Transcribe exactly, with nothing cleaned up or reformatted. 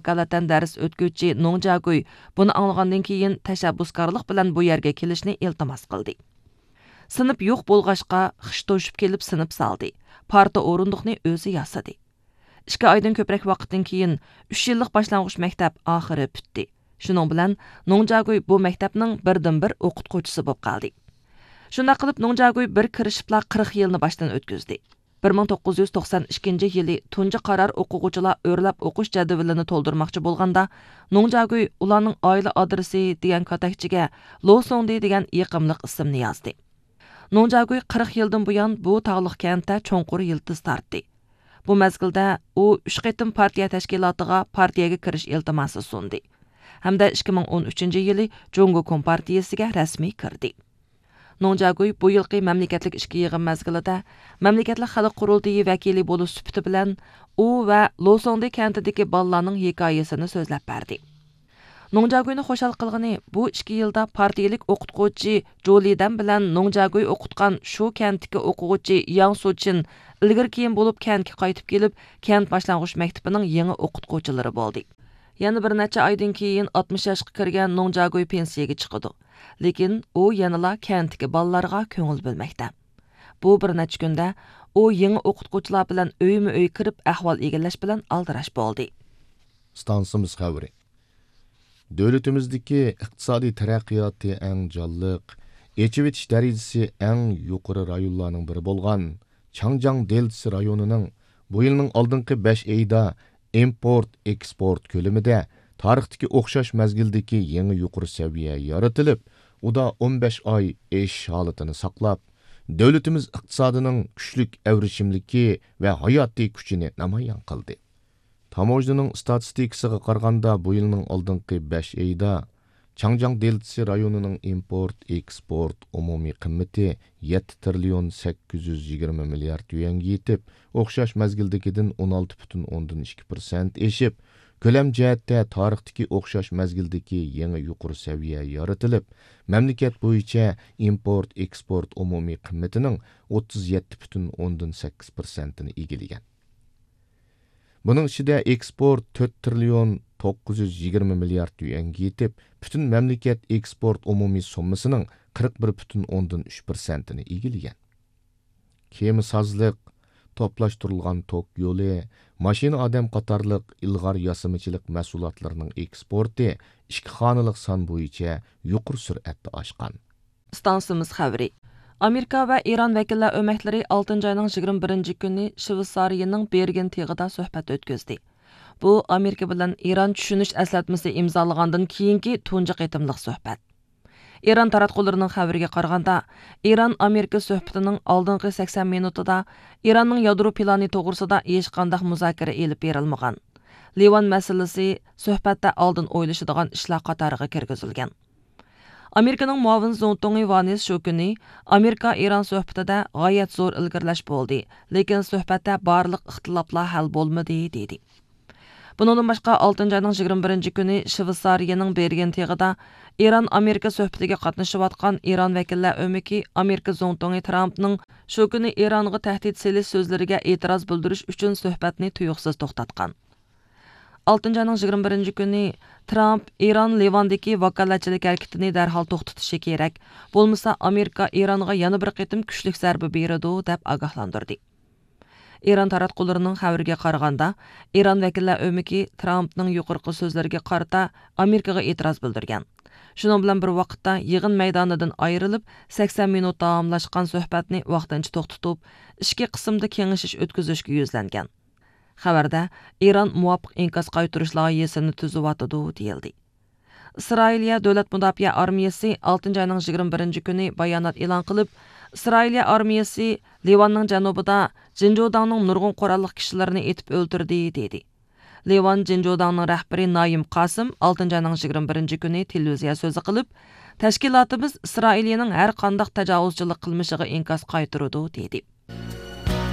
ۋاكالىتەن دەرس ئۆتكۈچى نوڭ جياگۇي بۇنى ئاڭلىغاندىن كېيىن، تەشەببۇسكارلىق بىلەن بۇ يەرگە كېلىشنى ئىلتىماس قىلدى. سىنىپ يوق بولغاچقا، خىش توشۇپ كېلىپ سىنىپ سالدى. پارتا ئورۇندۇقنى ئۆزى ياسىدى. ئىككى ئايدىن كۆپرەك ۋاقىتتىن كېيىن، ئۈچ يىللىق باشلانغۇچ مەكتەپ ئاخىرى پۈتتى. شۇنىڭ بىلەن نوڭ جياگۇي بۇ مەكتەپنىڭ بىردىنبىر ئوقۇتقۇچىسى بولۇپ قالدى. شۇنداق قىلىپ، نوڭ جياگۇي بىر كىرىشىپلا قىرىق يىلنى باشتىن ئۆتكۈزدى. بىر مىڭ توققۇز يۈز توقسان ئىككىنچى يىلى تۇنجى قارار ئوقۇغۇچىلار ئۆرلەپ ئوقۇش جەدۋىلىنى تولدۇرماقچى بولغاندا، نوڭ جياگۇي ئۇلارنىڭ ئائىلە ئادرېسى دېگەن كاتەكچىگە لو سوڭدى دېگەن يېقىملىق ئىسىمنى يازدى. نوڭ جياگۇي قىرىق يىلدىن بۇيان بۇ تاغلىق كەنتتە چوڭقۇر يىلتىز تارتتى. بۇ مەزگىلدە ئۇ ئۈچ قېتىم پارتىيە تەشكىلاتىغا پارتىيەگە كىرىش ئىلتىماسى سۇندى ھەمدە ئىككى مىڭ ئون ئۈچىنچى يىلى جۇڭگو كومپارتىيىسىگە رەسمىي كىردى. نوڭ جياگۇي بۇ يىلقى مەملىكەتلىك ئىچكى يىغىن مەزگىلىدە مەملىكەتلىك خەلق قۇرۇلتىيى ۋەكىلى بولۇش سۈپىتى بىلەن ئۇ ۋە لوسوڭدى كەنتىدىكى بالىلارنىڭ ھېكايىسىنى سۆزلەپ بەردى. نوڭ جياگۇينى خۇشال قىلغىنى، بۇ ئىككى يىلدا پارتىيىلىك ئوقۇتقۇچى جۇ لىدەن بىلەن نوڭ جياگۇي ئوقۇتقان شۇ كەنتتىكى ئوقۇغۇچى ياڭ سۇچىن ئىلگىرى كېيىن بولۇپ كەنتكە قايتىپ كېلىپ، كەنت باشلانغۇچ مەكتىپىنىڭ يېڭى ئوقۇتقۇچىلىرى بولدى. يەنە بىر نەچچە ئايدىن كېيىن ئاتمىش ياشقا كىرگەن نوڭ جياگۇي پېنسىيەگە چىقىدۇ. لېكىن ئۇ يەنىلا كەنتتىكى بالىلارغا كۆڭۈل بۆلمەكتە. بۇ بىر نەچچە كۈندە ئۇ يېڭى ئوقۇتقۇچىلار بىلەن ئۆيمۇ ئۆي كىرىپ ئەھۋال ئىگىلەش بىلەن ئالدىراش بولدى. ئىستانسىمىز خەۋىرى. دۆلىتىمىزدىكى ئىقتىسادىي تەرەققىياتى ئەڭ جانلىق، ئېچىۋېتىش دەرىجىسى ئەڭ يۇقىرى رايونلارنىڭ بىرى بولغان چاڭجياڭ دېلتىسى رايونىنىڭ بۇ يىلنىڭ ئالدىنقى بەش ئېيىدا ئىمپورت، ئېكسپورت كۆلىمىدە تارىختىكى ئوخشاش مەزگىلدىكى يېڭى يۇقىرى سەۋىيە يارىتىلىپ، ئۇدا ئون بەش ئاي ئېشىش ھالىتىنى ساقلاپ، دۆلىتىمىز ئىقتىسادىنىڭ كۈچلۈك ئەۋرىشىملىكى ۋە ھاياتىي كۈچىنى نامايان قىلدى. تاموژنىنىڭ ئىستاتىستىكىسىغا قارىغاندا، بۇ يىلنىڭ ئالدىنقى بەش ئېيىدا چاڭجياڭ دېلتىسى رايونىنىڭ ئىمپورت، ئېكسپورت ئومۇمىي قىممىتى يەتتە تىرىليون سەككىز يۈز يىگىرمە مىليارد يۈەنگە يېتىپ، ئوخشاش مەزگىلدىكىدىن ئون ئالتە پۈتۈن ئوندىن ئىككى پىرسەنت ئېشىپ، كۆلەم جەھەتتە تارىختىكى ئوخشاش مەزگىلدىكى يېڭى يۇقىرى سەۋىيە يارىتىلىپ، مەملىكەت بويىچە ئىمپورت، ئېكسپورت ئومۇمىي قىممىتىنىڭ ئوتتۇز يەتتە پۈتۈن ئوندىن سەككىز پىرسەنتىنى ئىگىلىگەن. بۇنىڭ ئىچىدە ئېكسپورت تۆت تىرىليون توققۇز يۈز يىگىرمە مىليارد يۈەنگە يېتىپ، پۈتۈن مەملىكەت ئېكسپورت ئومۇمىي سوممىسىنىڭ قىرىق بىر پۈتۈن ئوندىن ئۈچ پىرسەنتىنى ئىگىلىگەن. كېمە سازلىق، توپلاشتۇرۇلغان توك يولى، ماشىنا ئادەم قاتارلىق ئىلغار ياسىمىچىلىق مەھسۇلاتلىرىنىڭ ئېكسپورتى ئىككى خانىلىق سان بويىچە يۇقىرى سۈرئەتتە ئاشقان. ئىستانسىمىز خەۋىرى. ئامېرىكا ۋە ئىران ۋەكىللەر ئۆمەكلىرى ئالتىنچى ئاينىڭ يىگىرمە بىرىنچى كۈنى شۋېتسارىيىنىڭ بېرگېن تېغىدا سۆھبەت ئۆتكۈزدى. بۇ ئامېرىكا بىلەن ئىران چۈشىنىش ئەسلەتمىسى ئىمزالىغاندىن كېيىنكى تۇنجى قېتىملىق سۆھبەت. ئىران تاراتقۇلىرىنىڭ خەۋىرىگە قارىغاندا، ئىران ئامېرىكا سۆھبىتىنىڭ ئالدىنقى سەكسەن مىنۇتىدا ئىراننىڭ يادرو پىلانى توغرىسىدا ھېچقانداق مۇزاكىرە ئېلىپ بېرىلمىغان. لىۋان مەسىلىسى سۆھبەتتە ئالدىن ئويلىشىدىغان ئىشلار قاتارىغا كىرگۈزۈلگەن. ئامېرىكىنىڭ مۇئاۋىن زۇڭتۇڭى ۋانىس شۇ كۈنى، ئامېرىكا ئىران سۆھبىتىدە غايەت زور ئىلگىرىلەش بولدى، لېكىن سۆھبەتتە بارلىق ئىختىلاپلار ھەل بولمىدى، دېدى. بۇنىڭدىن باشقا، ئالتىنچى ئاينىڭ يىگىرمە بىرىنچى كۈنى شۋېتسارىيەنىڭ بېرگېن تېغىدا ئىران ئامېرىكا سۆھبىتىگە قاتنىشىۋاتقان ئىران ۋەكىللەر ئۆمىكى ئامېرىكا زۇڭتۇڭى ترامپنىڭ شۇ كۈنى ئىرانغا تەھدىت سېلىش سۆزلىرىگە ئېتىراز بىلدۈرۈش ئۈچۈن سۆھبەتنى تۇيۇقسىز توختاتقان. ئالتىنچى ئاينىڭ يىگىرمە بىرىنچى كۈنى ترامپ ئىران لىۋاندىكى ۋاكالەتچىلىك ھەرىكىتىنى دەرھال توختىتىشى كېرەك، بولمىسا ئامېرىكا ئىرانغا يەنە بىر قېتىم كۈچلۈك زەربە بېرىدۇ، دەپ ئاگاھلاندۇردى. ئىران تاراتقۇلىرىنىڭ خەۋىرىگە قارىغاندا، ئىران ۋەكىللەر ئۆمىكى ترامپنىڭ يۇقىرىقى سۆزلىرىگە قارىتا ئامېرىكىغا ئېتىراز بىلدۈرگەن. شۇنىڭ بىلەن بىر ۋاقىتتا، يىغىن مەيدانىدىن ئايرىلىپ، سەكسەن مىنۇت داۋاملاشقان سۆھبەتنى ۋاقتىنچە توختىتىپ، ئىچكى قىسىمدا كېڭىشىش ئۆتكۈزۈشكە يۈزلەنگەن. خەۋەردە، ئىران مۇۋاپىق ئىنكاس قايتۇرۇش لايىھىسىنى تۈزۈۋاتىدۇ، دېيىلدى. ئىسرائىلىيە دۆلەت مۇداپىئە ئارمىيەسى ئالتىنچى ئاينىڭ يىگىرمە بىرىنچى كۈنى بايانات ئېلان قىلىپ، ئىسرائىلىيە ئارمىيەسى لىۋاننىڭ جەنۇبىدا جىنجۇداڭنىڭ نۇرغۇن قوراللىق كىشىلىرىنى ئېتىپ ئۆلتۈردى، دېدى. لىۋان جىنجۇداڭنىڭ رەھبىرى نايىم قاسىم ئالتىنچى ئاينىڭ يىگىرمە بىرىنچى كۈنى تېلېۋىزىيە سۆزى قىلىپ، تەشكىلاتىمىز ئىسرائىلىيەنىڭ ھەر قانداق تاجاۋۇزچىلىق قىلمىشىغا ئىنكاس قايتۇرىدۇ، دېدى.